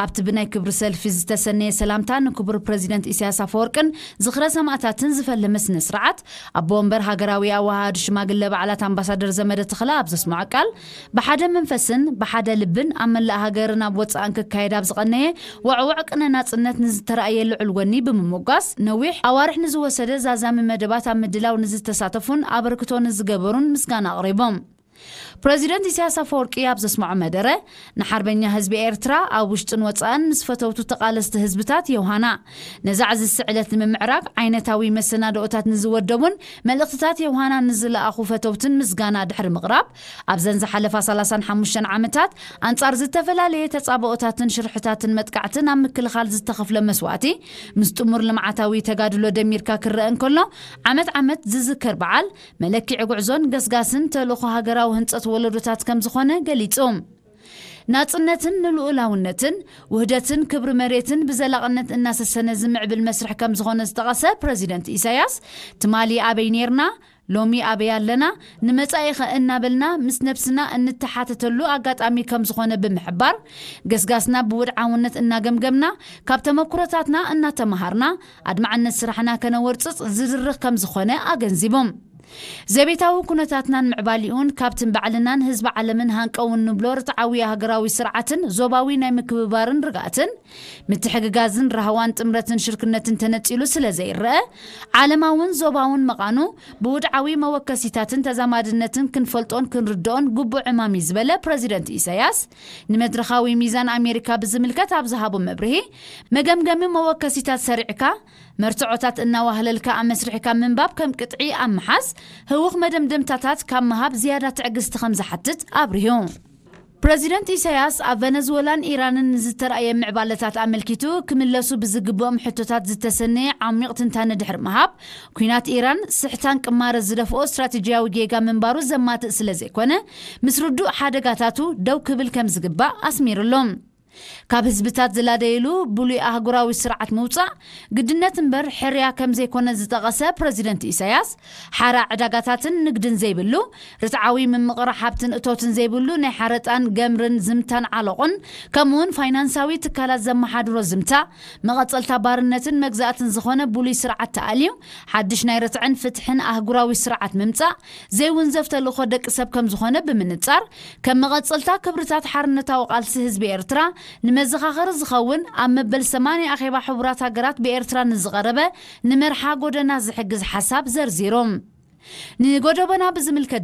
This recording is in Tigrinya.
ኣብቲ ብናይ ክብሪ ሰልፊ ዝተሰነየ ሰላምታ ንክቡር ፕረዚደንት ኢሳያስ ኣፈወርቅን ዝኽረ ሰማእታትን ዝፈለመ ስነ ስርዓት፣ ኣቦ ወንበር ሃገራዊ ኣወሃሃዲ ሽማግለ በዓላት ኣምባሳደር ዘመደ ተኽለ ኣብ ዘስምዖ ቃል፣ ብሓደ መንፈስን ብሓደ ልብን ኣብ መላእ ሃገርን ኣብ ወጻእን ክካየድ ኣብ ዝቐነየ ወዕወዕ ቅነ ናጽነት ንዝተራእየ ልዑል ወኒ ብምምጓስ፣ ነዊሕ ኣዋርሕ ንዝወሰደ ዛዛሚ መደባት ኣብ ምድላው ንዝተሳተፉን ኣበርክቶ ንዝገበሩን ምስጋና ኣቕሪቦም። ፕረዚደንት ኢሳያስ ኣፈወርቂ ኣብ ዘስምዖ መደረ፣ ንሓርበኛ ህዝቢ ኤርትራ ኣብ ውሽጥን ወጻእን ምስ ፈተውቱ ተቓለስቲ ህዝብታት የውሃና፣ ነዛ ዕዝዝቲ ዕለት ንምምዕራግ ዓይነታዊ መሰናድኦታት ንዝወደቡን መልእኽትታት የውሃና ንዝለኣኹ ፈተውትን ምስጋና ድሕሪ ምቕራብ፣ ኣብዘን ዝሓለፋ ሰላሳን ሓሙሽተን ዓመታት ኣንጻር ዝተፈላለየ ተጻብኦታትን ሽርሕታትን መጥቃዕትን ኣብ ምክልኻል ዝተኸፍለ መስዋእቲ፣ ምስ ጥሙር ልምዓታዊ ተጋድሎ ደሚርካ ክረአ እንከሎ፣ ዓመት ዓመት ዝዝከር በዓል፣ መለክዒ ጉዕዞን ገስጋስን ተልእኾ ሃገራዊ ህንጸት ወለዶታት ከም ዝኾነ ገሊጹ። ናጽነትን ንልኡላውነትን፣ ውህደትን ክብሪ መሬትን ብዘላቕነት እናሰሰነ ዝምዕብል መስርሕ ከም ዝኾነ ዝጠቐሰ ፕረዚደንት ኢሳያስ፣ ትማሊ ኣበይ ኔርና፣ ሎሚ ኣበይ ኣለና፣ ንመጻኢኸ እናበልና ምስ ነብስና እንተሓተተሉ ኣጋጣሚ ከም ዝኾነ ብምሕባር፣ ገስጋስና ብውድዓውነት እናገምገምና፣ ካብ ተመኩሮታትና እናተመሃርና፣ ኣድማዕነት ስራሕና ከነወርጽጽ ዝድርኽ ከም ዝኾነ ኣገንዚቦም። ዘቤታዊ ኩነታትናን ምዕባሊኡን ካብቲ ንባዕልናን ህዝቢ ዓለምን ሃንቀው እንብሎ ርትዓዊ ሃገራዊ ስርዓትን ዞባዊ ናይ ምክብባርን ርግኣትን፣ ምትሕግጋዝን ራህዋን ጥምረትን ሽርክነትን ተነጺሉ ስለ ዘይረአ፣ ዓለማውን ዞባውን መቓኑ ብውድዓዊ መወከሲታትን ተዛማድነትን ክንፈልጦን ክንርድኦን ግቡእ ዕማም እዩ ዝበለ ፕረዚደንት ኢሳያስ፣ ንመድረኻዊ ሚዛን ኣሜሪካ ብዝምልከት ኣብ ዝሃቦ መብርሂ፣ መገምገሚ መወከሲታት ሰሪዕካ፣ መርትዖታት እናዋህለልካ ኣመስሪሕካ ምንባብ ከም ቅጥዒ ኣብ ምሓዝ፣ ህውኽ መደምደምታታት ካብ ምሃብ ዝያዳ ትዕግስቲ ከም ዝሓትት ኣብሪሁ። ፕረዚደንት ኢሳያስ ኣብ ቨነዝወላን ኢራንን ንዝተራእየ ምዕባለታት ኣመልኪቱ ክምለሱ ብዝግብኦም ሕቶታት ዝተሰነየ ዓሚቕ ትንታነ ድሕሪ ምሃብ፣ ኲናት ኢራን ስሕታን ቅማረ ዝደፍኦ ስትራቴጂያዊ ጌጋ ምንባሩ ዘማትእ ስለ ዘይኮነ፣ ምስ ርዱእ ሓደጋታቱ ደው ክብል ከም ዝግባእ ኣስሚሩሎም። ካብ ህዝብታት ዝላደይሉ ብሉይ ኣህጉራዊ ስርዓት ምውጻእ ግድነት እምበር ሕርያ ከም ዘይኮነ ዝጠቐሰ ፕረዚደንት ኢሳያስ፣ ሓራ ዕዳጋታትን ንግድን ዘይብሉ፣ ርትዓዊ ምምቕራ ሓብትን እቶትን ዘይብሉ ናይ ሓረጣን ገምርን ዝምታን ዓሎቕን፣ ከምኡውን ፋይናንሳዊ ትካላት ዘመሓድሮ ዝምታ፣ መቐጸልታ ባርነትን መግዛእትን ዝኾነ ብሉይ ስርዓት ተኣልዩ፣ ሓድሽ ናይ ርትዕን ፍትሕን ኣህጉራዊ ስርዓት ምምጻእ ዘይውንዘፍ ተልእኾ ደቂ ሰብ ከም ዝኾነ ብምንጻር፣ ከም መቐጸልታ ክብርታት ሓርነታዊ ቃልሲ ህዝቢ ኤርትራ ንመዘኻኸሪ ዝኸውን ኣብ መበል ሰማንያ ኣኼባ ሕቡራት ሃገራት ብኤርትራ ንዝቐረበ ንመርሓ ጎደና ዝሕግዝ ሓሳብ ዘርዚሮም። ንጎደቦና ብዝምልከት